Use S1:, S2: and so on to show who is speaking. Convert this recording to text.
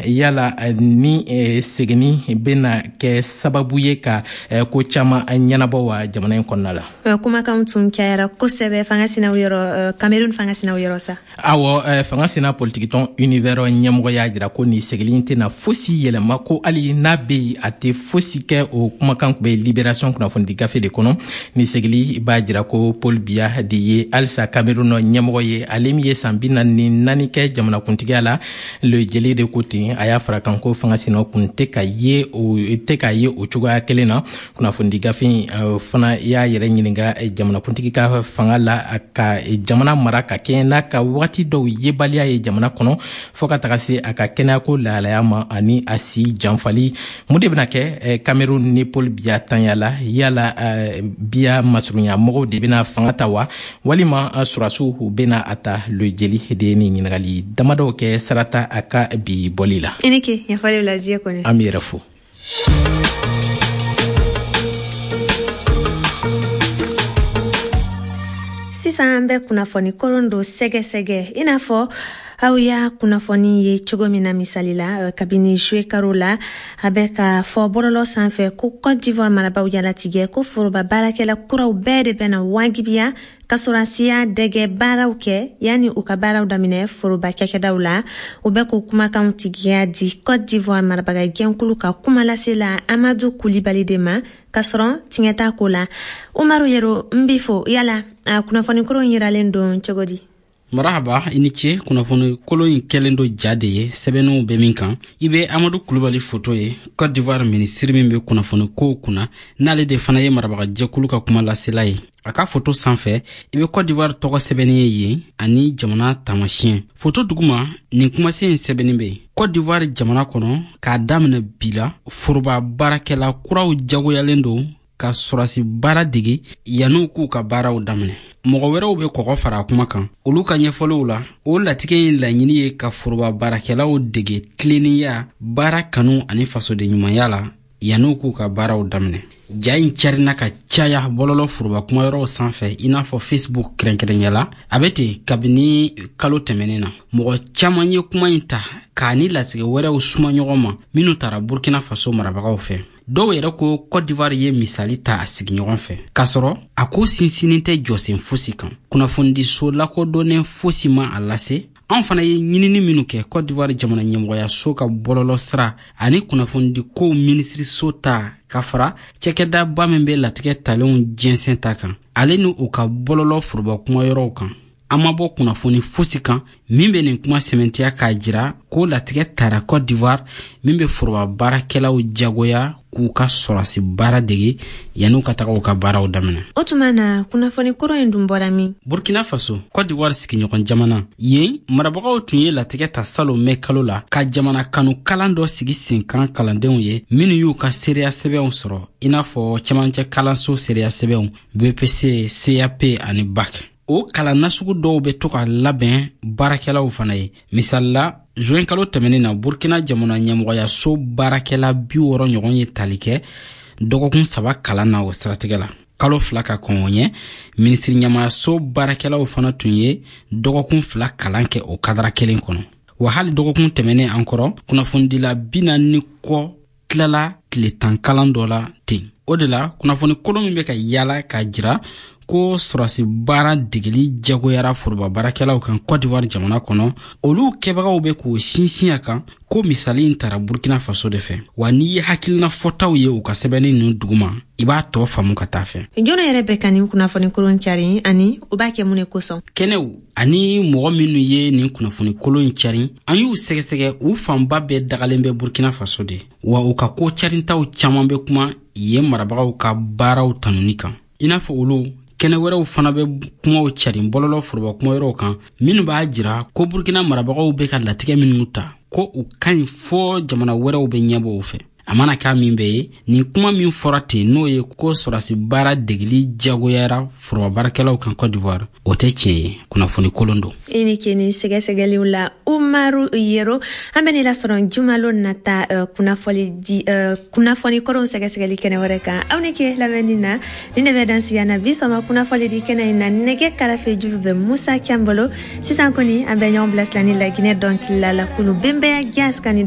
S1: Yala ni seginni bɛna kɛ sababu ye ka ko caman ɲɛnabɔ wa jamana in kɔnɔna la?
S2: Kumakanw tun cayara kosɛbɛ fanga sinaw yɔrɔ, Cameroun fanga sinaw yɔrɔ sa.
S1: Awɔ, fanga sina politikitɔn Univers ɲɛmɔgɔ y'a jira ko nin segili tɛna fosi yɛlɛma, ko hali n'a bɛ yen, a tɛ fosi kɛ. O kumakan tun bɛ Libération kunnafonidi gafe de kɔnɔ. Nin segili b'a jira ko Paul Biya de ye halisa Cameroun ɲɛmɔgɔ ye, ale min ye san 44 kɛ jamanakuntigiya la. Le Jeli de ko ten. A y'a fara kan ko fanga sinaw kun tɛ ka ye o tɛ ka ye o cogoya kelen na. Kunnafonidi gafe in fana y'a yɛrɛ ɲininka jamanakuntigi ka fanga la ka jamana mara ka kɛɲɛ n'a ka wagati dɔw yebaliya ye jamana kɔnɔ, fɔɔ ka taga se a ka kɛnɛyako lahalaya ma ani a si janfali. Mun de bɛna kɛ Cameroun ni Paul Biya tanya la? Yala Biya masurunya mɔgɔw de bɛna fanga ta wa, walima sɔrɔdasiw bɛna a ta? Le Jeli de ye nin ɲininkali damadɔw kɛ sarata a ka bi bɔli la.
S2: I ni ke ɲɛfɔli la, Zie Kone.
S1: An b'i yɛrɛ fo.
S2: Sisan an bɛ kunnafoni koron dɔ sɛgɛsɛgɛ. I n'a fɔ aw y'a kunnafoni ye cogo min na, misali la, kabini juillet karo la, a bɛ ka fɔ bɔlɔlɔ sanfɛ ko Cote d'Ivoire marabaw y'a latigɛ ko foroba baarakɛla kuraw bɛɛ de bɛna wajibiya ka sɔrɔdasiya dɛgɛ baaraw kɛ yanni u ka baaraw daminɛ foroba cakɛdaw la. U bɛ k'o kumakanw tigiya di Cote d'Ivoire marabaga jɛnkulu ka kumalasela Amadu Kulibali de ma, k'a sɔrɔ tiɲɛ t'a ko la. Umaru Yero, n b'i fo. Yala a kunnafoni kolon yiralen don cogo di?
S3: Marahaba, i ni ce. Kunnafoni kolon in kɛlen do ja de ye sɛbɛnninw bɛ min kan. I bɛ Amadu Kulubali foto ye, Cote d'Ivoire minisiri min bɛ kunnafoni kow kunna, n'ale de fana ye marabagajɛkulu ka kuma lasela ye. A ka foto sanfɛ, i bɛ Cote d'Ivoire tɔgɔ sɛbɛnni ye yen ani jamana taamasiyɛn. Foto duguma, nin kumasen in sɛbɛnni bɛ yen: Cote d'Ivoire jamana kɔnɔ, k'a daminɛ bi la, foroba baarakɛla kuraw jagoyalen don ka sɔrɔsi baara dege yanni k'u ka baaraw daminɛ. Mɔgɔ wɛrɛw bɛ kɔgɔ fara a kuma kan. Olu ka ɲɛfɔliw la, o latigɛ in laɲini ye ka foroba baarakɛlaw dege tilennenya, baara kanu ani fasodenɲumanya la yanni k'u ka baaraw daminɛ. Ja in carinna ka caya bɔlɔlɔ foroba kumayɔrɔw sanfɛ, i n'a fɔ Facebook kɛrɛnkɛrɛnya la. A bɛ ten kabini kalo tɛmɛnen na. Mɔgɔ caman ye kuma in ta k'a ni latigɛ wɛrɛw suma ɲɔgɔn ma minnu tara Burkina Faso marabagaw fɛ. Dɔw yɛrɛ ko Cote d'Ivoire ye misali ta a sigiɲɔgɔn fɛ, k'a sɔrɔ a ko sinsinnin tɛ jɔsen fosi kan. Kunnafonidiso lakodɔnnen fosi ma a lase. An fana ye ɲinini minnu kɛ Cote d'Ivoire jamana ɲɛmɔgɔyaso ka bɔlɔlɔ sira ani kunnafonidikow minisiriso ta, ka fara cɛkɛdaba min bɛ latigɛ talenw jɛnsɛn ta kan, ale ni u ka bɔlɔlɔ foroba kumayɔrɔw kan, an ma bɔ kunnafoni fosi kan min bɛ nin kuma sɛmɛntiya k'a jira ko latigɛ tara Cote d'Ivoire min bɛ foroba baarakɛlaw jagoya k'u ka sɔrɔsi baara dege yanni ka taga u ka baaraw daminɛ.
S2: O tuma na, kunnafoni kɔrɔ in dun bɔra min?
S3: Burkina Faso, Cote d'Ivoire sigiɲɔgɔn jamana, yen marabagaw tun ye latigɛ ta salon mɛ kalo la ka jamana kanu kalan dɔ sigi sen kan kalandenw ye minnu y'u ka seereya sɛbɛnw sɔrɔ, i n'a fɔ cɛmancɛ kalanso seereya sɛbɛnw, BEPC, CAP ani BAC. O kalan nasugu dɔw bɛ to ka labɛn baarakɛlaw fana ye. Misali la, juin kalo tɛmɛnen na, Burkina jamana ɲɛmɔgɔyaso baarakɛla 60 ɲɔgɔn ye tali kɛ dɔgɔkun 3 kalan na o siratigɛ la. Kalo 2 ka kɔn o ɲɛ, minisiri ɲɛmaayaso baarakɛlaw fana tun ye dɔgɔkun 2 kalan kɛ o kadara kelen kɔnɔ. Wa hali dɔgɔkun tɛmɛnen an kɔrɔ, kunnafonidila 40 kɔ tilala tile 10 kalan dɔ la ten. O de la, kunnafoni kolon min bɛ ka yaala k'a jira ko sɔrɔsi baara degeli jagoyara foroba baarakɛlaw kan Cote d'Ivoire jamana kɔnɔ, olu kɛbagaw bɛ k'o sinsin a kan ko misali in tara Burkina Faso de fɛ. Wa n'i ye hakilina fɔtaw ye u ka sɛbɛnni ninnu duguma, i b'a tɔ faamu ka taa fɛ.
S2: Jɔn yɛrɛ bɛ ka nin kunnafoni kolon cari, ani u b'a kɛ mun de kosɔn?
S3: Kɛnɛw ani mɔgɔ minnu ye nin kunnafoni kolon in cari, an y'u sɛgɛsɛgɛ, u fanba bɛɛ dagalen bɛ Burkina Faso de. Wa u ka ko carintaw caman bɛ kuma yen marabagaw ka baaraw tanuni kan. I n'a fɔ olu, kɛnɛ wɛrɛw fana bɛ kumaw carin bɔlɔlɔ foroba kumayɔrɔw kan minnu b'a jira ko Burkina marabagaw bɛ ka latigɛ minnu ta, ko u ka ɲi fɔ jamana wɛrɛw bɛ ɲɛbɔ u fɛ. A mana k'a min bɛɛ ye, nin kuma min fɔra ten, n'o ye ko sɔrɔsi baara degeli jagoyara foroba baarakɛlaw kan Cote d'Ivoire, o tɛ tiɲɛ ye, kunnafoni kolon don.
S2: I ni ce ni sɛgɛsɛgɛliw la, Umaru Yero. An bɛ ni lasɔrɔ jumalon nata kunnafoni di kunnafoni kɔrɔw sɛgɛsɛgɛli kɛnɛ wɛrɛ kan. Aw ni ke lamɛnni na. Ni ne bɛ dan sigi na bi sɔgɔma kunnafoni di kɛnɛ in na. Nɛgɛ karafe juru bɛ Musa Can bolo. Sisan kɔni, an bɛ ɲɔgɔn bilasira ni Laginɛ dɔnkilila la kulu Bembeya Jazz ka ni.